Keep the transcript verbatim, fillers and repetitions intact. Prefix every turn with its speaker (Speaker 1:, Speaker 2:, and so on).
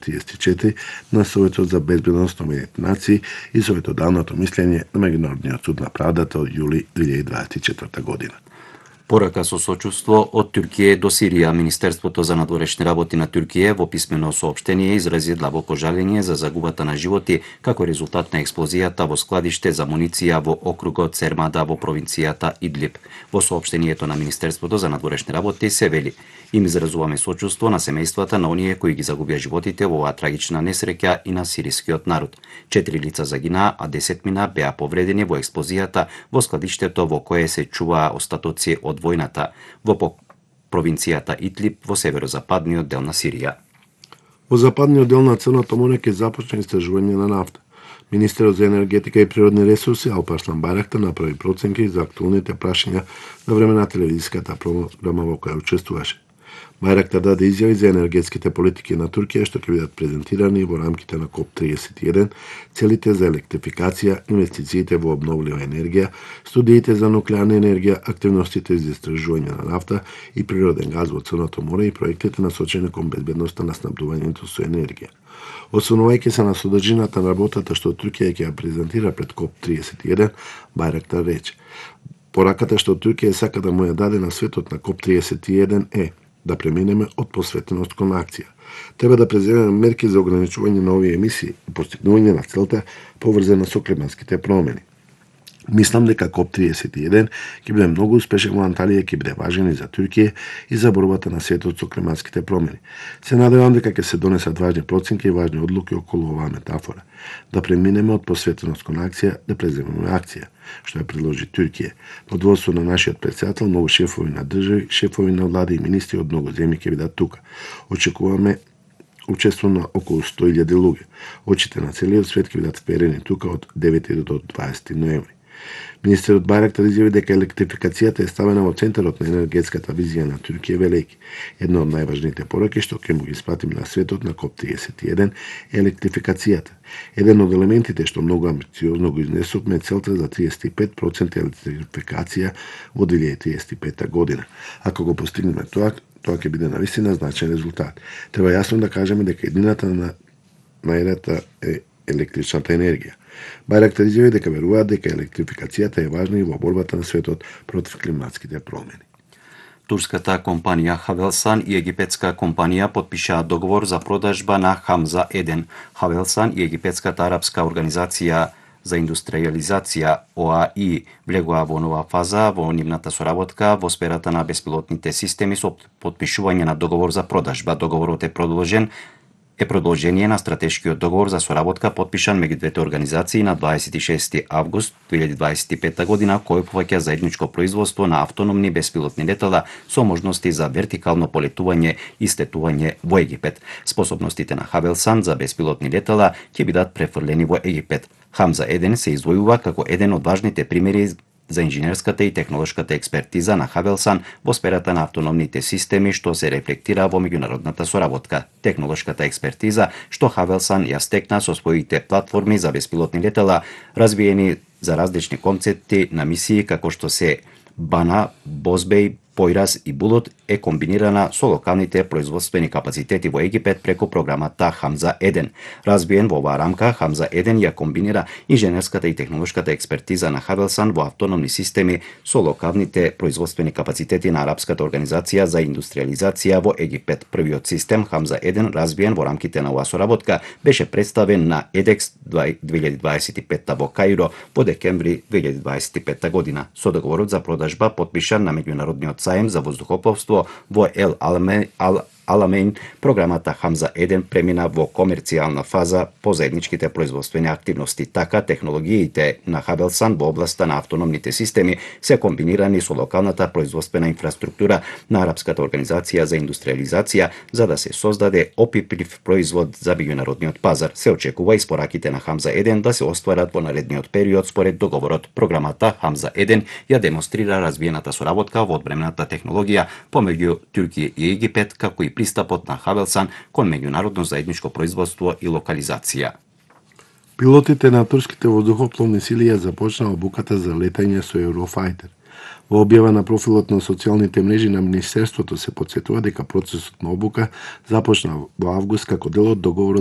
Speaker 1: триесет и четири на Советот за безбедност на Обединетите нации и Советот давното мислење на Меѓународниот суд на правдата од јули две илјади дваесет и четврта година.
Speaker 2: Порака со сочувство од Туркија до Сирија, Министерството за надворешни работи на Туркија во писмено соопштение изрази длабоко жалење за загубата на животи како резултат на експлозијата во складиште за муниција во округот Сермада во провинцијата Идлиб. Во соопштението на Министерството за надворешни работи се вели: им изразуваме сочувство на семејствата на оние кои ги загубија животите во оваа трагична несреќа и на сирискиот народ. Четири лица загинаа, а десет мина беа повредени во експлозијата во складиштето во кое се чуваа остатоци од војната во провинцијата Идлиб во северозападниот дел на Сирија.
Speaker 1: Во западниот дел на Црното море ќе започне истражување на нафта. Министерот за енергетика и природни ресурси Алпарслан Байрактар направи проценки за актуелните прашања на време на телевизиската програма во која учествуваше. Байрактар даде изјави за енергетските политики на Туркија што ќе бидат презентирани во рамките на КОП триесет и еден, целите за електрификација, инвестициите во обновлива енергија, студиите за нуклеарна енергија, активностите за истражување на нафта и природен газ во Црното море и проектите насочени кон безбедноста на снабдувањето со енергија. Освонувајќи се на содржината на работата што Туркија ќе ја презентира пред КОП триесет и еден, Байрактар рече: пораката што Туркија сака да му ја даде на светот на КОП триесет и еден е да преминеме од посветеност кон акција. Треба да преземеме мерки за ограничување на овие емисии и постигнување на целта поврзана со климатските промени. Мислам дека КОП триесет и еден ќе биде многу успешен во Анталија, ќе биде важен и за Туркија и за борбата на светот со климатските промени. Се надевам дека ќе се донесат важни проценки и важни одлуки околу оваа метафора. Да преминеме од посветеност кон акција, да преземеме акција, што ја предложи Туркија. Под водство на нашиот председател, многу шефови на држави, шефови на влади и министри од многу земји ќе бидат тука. Очекуваме учество на околу сто илјади луѓе. Очите на целиот свет ќе бидат вперени тука од девети до дваесети ноември. Министерот Байрактар изјави дека електрификацијата е ставена во центарот на енергетската визија на Туркија, велејќи: една од најважните пораки што ќе му ги испратиме на светот на КОП триесет и еден е електрификацијата. Еден од елементите што многу амбициозно го изнесовме е целта за триесет и пет проценти електрификација во две илјади триесет и пета година. Ако го постигнеме тоа, тоа ќе биде навистина значаен резултат. Треба јасно да кажеме дека едината на најдата е електричната енергија. Байрактар изјави дека веруваат дека електрификацијата е важна и во борбата на светот против климатските промени.
Speaker 2: Турската компанија Хавелсан и египетска компанија подпишаа договор за продажба на Хамза еден. Хавелсан и египетската арапска организација за индустриализација О А И влегоа во нова фаза во нивната соработка во сферата на беспилотните системи со подпишување на договор за продажба. Договорот е продолжен е продолжение на стратешкиот договор за соработка подпишан меѓу двете организации на дваесет и шести август две илјади дваесет и пета година, кој опфаќа заедничко производство на автономни беспилотни летала со можности за вертикално полетување и слетување во Египет. Способностите на Хавелсан за беспилотни летала ќе бидат префрлени во Египет. Хамза еден се издвојува како еден од важните примери за инженерската и технолошката експертиза на Хавелсан во сферата на автономните системи, што се рефлектира во меѓународната соработка. Технолошката експертиза што Хавелсан ја стекна со своите платформи за беспилотни летала, развиени за различни концепти на мисии како што се Бана, Бозбеј, Појрас и Булут, е комбинирана со локалните производствени капацитети во Египет преку програмата Хамза еден. Разбиен во оваа рамка, Хамза еден ја комбинира инженерската и технолошката експертиза на Хавелсан во автономни системи со локалните производствени капацитети на Арапската организација за индустриализација во Египет. Првиот систем Хамза еден, разбиен во рамките на оваа соработка, беше представен на Едекс две илјади дваесет и пета во Каиро во декември две илјади дваесет и пета година. Со договорот за продажба подпишан на меѓународниот сајм за воздухопловство во Ел Аламеин, програмата Хамза еден премина во комерцијална фаза по заедничките производствени активности. Така, технологиите на Хавелсан во областа на автономните системи се комбинирани со локалната производствена инфраструктура на Арапската организација за индустриализација, за да се создаде опиплив производ за меѓународниот пазар. Се очекува испораките на Хамза еден да се остварат во наредниот период според договорот. Програмата Хамза еден ја демонстрира развиената соработка во одбранената технологија помеѓу Туркија и Египет, како и пристапот на Хавелсан кон меѓународно заедничко производство и локализација.
Speaker 1: Пилотите на турските воздухопловни сили ја започнаа обуката за летање со Eurofighter. Во објава на профилот на социјалните мрежи на Министерството се потсетува дека процесот на обука започна во август како дел од договорот